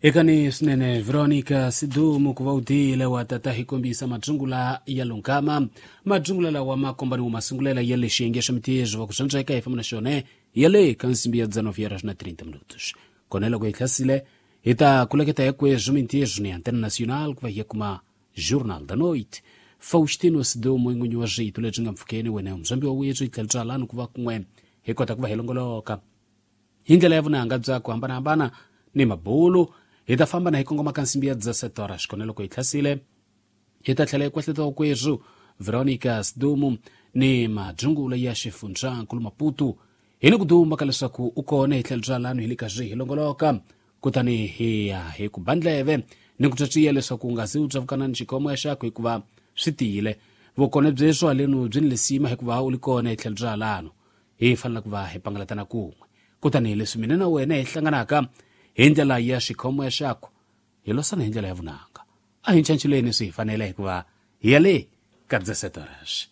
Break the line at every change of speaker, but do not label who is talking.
Ekani swinene Veronica Sidumo ku va u tile wa tata hi kombisa madzungula ya lunghama. Madzungula lawa ma kombaniwa masungulela ya le xiyenge xa mitirho va ku swandzeka hi famba na xona ya le ka nsimbi ya 19 horas na 30 minutos. Kona loko hi hlasile hi ta kuleketa hikweswo mintirho ni Antena Nacional ku va hi ya kuma Jornal da Noite. Faustino Sidumo i n'winyi wa rito lebyi nga mpfhukeni wena muzambi wa wethu hi tlhela byalani ku va kun'we hi kota ku va hi longoloka hi ndlela ya vunanga bya ku hambanahambana ni mabulu. Hi ta famba na hi kongoma ka nsimbi ya 17 horas. Kona loko hi hlasile hi ta tlhela hi kwehleta kweswo Veronica Sidumo ni madzungula ya xifundzankulu Maputo. Hi ni ku duma ka leswaku u kona hi tlhelo bya lano hi le ka swi hi longoloka, kutani hi ya hi ku bandleve ni ku tswatswiya leswaku u nga zi u tsavukana ni xikomo ya xakho hikuva swi tiyile. Vukona byeswo halenu byi ni lisima hikuva u li kona hi tlhelo bya lano. Hi fanele ku va hi pangalatana kun'we. Kutani leswi mina na wena hi hlanganaka hi ndlela ya xikhomo ya xakho, hi losana hi ndlela ya vunanga. A hi nchanchuleni swi hi fanele hikuva hi ya le ka 17 horas.